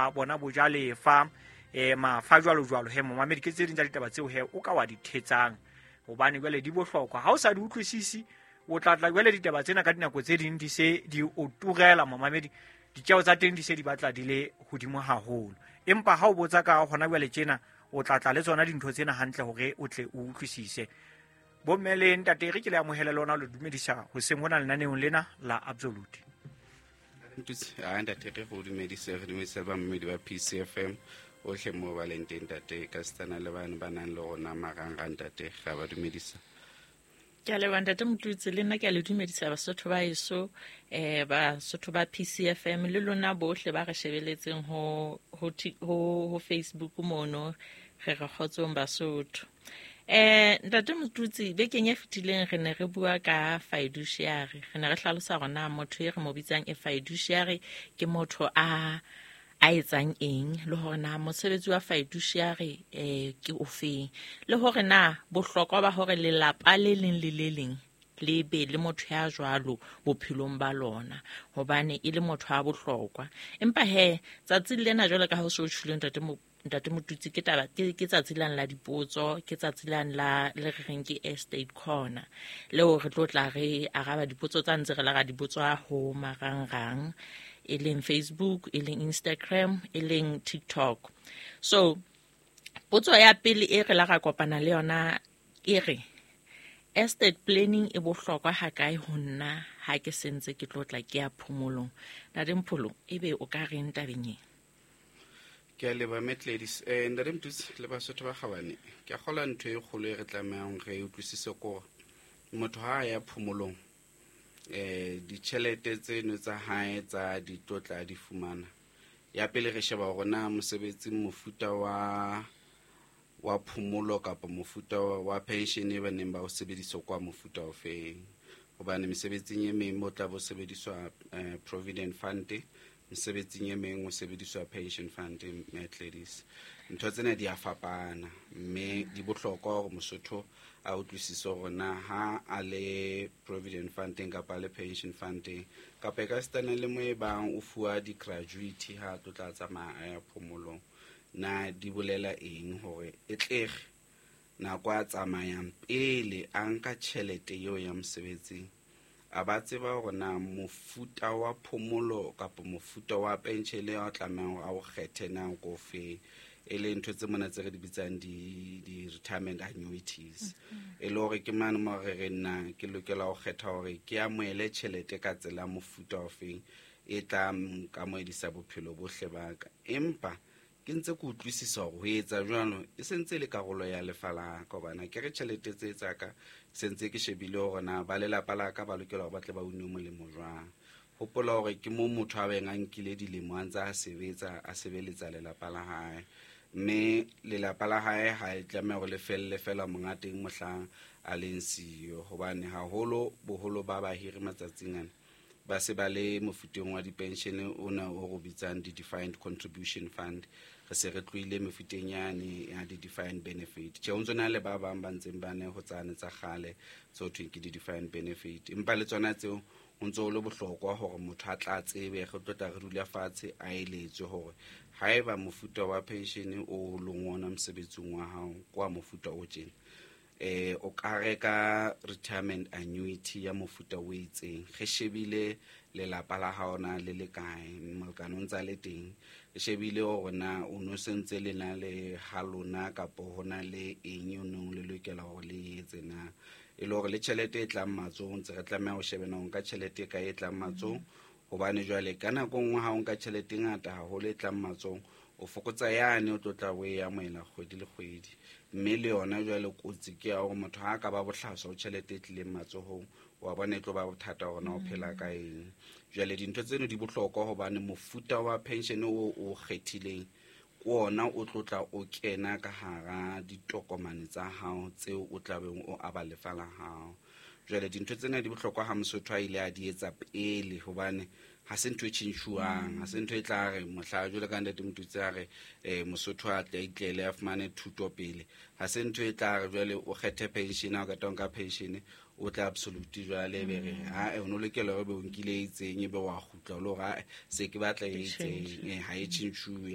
Bona bojalefa mafa jwalo jwalo he momamedi, ke tse ding tsa ditaba tseo he o ka wa di thetsang, hobane jwale di bohlokwa. Ha o sa di utlwisisi, o tla tla jwale ditaba tsena ka dinako tse ding di se di o turela momamedi, ditjeo tsa teng di se di batla di le hodimo haholo. Empa ha o botsa ka hona jwale tjena, o tla tla le tsona dintho tsena hantle hore o tle o utlwisise. Bomme le ntate, re ke le amohele lona, le dumedisa hoseng hona lenaneong lena la Absolute. A ntate, re go dumedise, re dumedise bamamedi ba PCFM otlhe mo ba leng teng, ntate, ka setsana le bane ba nang le rona marangrang, ntate, ga ba dumedisa. Ke a leboha, ntate Motutsi. Le nna ke a le dumedisa, Basotho ba eso, Basotho ba PCFM le lona bohle ba re shebeletseng ho Facebook mono. Re re kgotsong, Basotho. Ntate Motutsi, bekeng e fetileng re ne re bua ka fiduciary. Re ne re hlalosa hore na motho e re mo bitsang e fiduciary ke motho a etsang eng, le hore na mosebetsi wa fiduciary ke ofeng, le hore na bohlokwa ba hore lelapa le leng le le leng le be le motho ya jwalo bophelong ba lona, hobane e le motho a bohlokwa. Empa he tsatsing lena, jwalo ka ha o se o tjhuleng, ntate Motutsi, ke taba ke tsatsi lane la dipotso, ke tsatsi lane la le re reng ke Estate Corner, leo re tlo tla re araba dipotso tsa ntse re la ra di botswa ho marangrang, e leng Facebook, e leng Instagram, e leng TikTok. So potso ya pele e re la ra kopana le yona e re: estate planning e bohlokwa ha kae ho nna ha ke sentse ke tlo tla ke ya phomolong? Ntate Mpholo, ebe o ka reng tabeng e? Ke a leboha, Metledis. Ntate Motutsi le Basotho ba kgabane, ke a kgola ntho e kgolo e re tlamehang re utlwisise kore motho ha a ya phomolong, ditjhelete tseno tsa hae tsa di tlotla di fumana. Ya pele, re sheba hore na mosebetsing mofuta wa phomolo kapa mofuta wa pension e ba neng ba o sebedisa kwa mofuta o feng, hobane mesebetsing e meng mo tla bo sebediswa provident fund, mesebetsing e meng o sebediswa pension fund. Metledis, ntho tsena di a fapana, mme di bohlokwa hore Mosotho a utlwisise hore na ha a le provident funding kapa a le pension funding, kapa e ka sitana le mo e bang o fuwa di-gratuity ha a tlo tla tsamaya a ya phomolong, na di bolela eng, hore e tlege nako a tsamayang pele a nka tjhelete eo ya mosebetsing, a ba tseba hore na mofuta wa phomolo kapa mofuta wa pension a tlamehang hore a o kgethe na ko feng, e le ntho tse mona tse re di bitsang di-retirement annuities, e le hore ke mane mo re re nna ke lokela ho kgetha hore ke amohele tjhelete ka tsela mofuta o feng e tla nkamohedisa bophelo bohle ba ka, empa ke ntse ke utlwisisa hore ho etsa jwalo e sentse e le karolo ya lefa la ka, hobane ke re tjhelete tse tsa ka sentse ke shebile hore na ba lelapa la ka ba lokela hore ba tle ba une molemo jwang. Hopola hore ke mo motho a beng a nkile dilemo a ntse a sebetsa, a sebeletsa lelapa la hae, mme lelapa la hae ha e tlameha hore le felle fela monga teng mohlang a leng siyo, hobane haholo boholo ba bahiri matsatsing ana ba se ba le mofuteng wa dipension ona o re bitsang di-defined contribution fund. Re se re tlohile mefuteng yane ya di-defined benefit. Tjhe, ho ntso na le ba bang ba ntseng ba ne ho tsane tsa kgale tse ho thweng ke di-defined benefit, empa le tsona tseo ho ntso ho le bohlokwa hore motho a tla tsebe, re tlo tla re dula fatshe a eletswe hore haeba mofuta wa pension o leng ona mosebetsing wa hao ke wa mofuta o tjena, o ka reka retirement annuity ya mofuta o itseng, re shebile lelapa la hao na le le kae, molekane o ntsa le teng, re shebile hore na o no sentse le na le ha lona kapa ho na le eng o neng le lokela hore le etse na, e le hore le tjhelete e tlang matsohong ntse re tlameha ho shebena ho nka tjhelete e kae e tlang matsohong, hobane jwale ka nako nngwe ha o nka tjhelete e ngata haholo e tlang matsohong, o fokotsa yane o tlo tla o e amohela kgwedi le kgwedi, mme le yona jwale kotsi ke ya hore motho ha a ka ba bohlaswa ho tjhelete e tlileng matsohong, wa bona, e tlo ba bothata hore na o phela ka eng. Jwale dintho tseno di bohlokwa, hobane mofuta wa pension o o kgethileng ke ona o tlo tla o kena ka hara ditokomane tsa hao tseo o tlabeng o aba lefa la hao. Jwale dintho tsena di bohlokwa ha Mosotho a ile a di etsa pele, hobane ha se ntho e tjhentjhuwang, ha se ntho e tla re mohla jwale ka ntate Motutsi a re Mosotho a tle a itlele a fumane thuto pele. Ha se ntho e tla re jwale o kgethe pension, ha o qeta ho nka pension O tla absolute jwale, ebe re ae, o no lokela hore ebe o nkile e itseng, ebe wa kgutla o le hore ae, se ke batla e itseng. Change. Ha e tjhentjhuwe.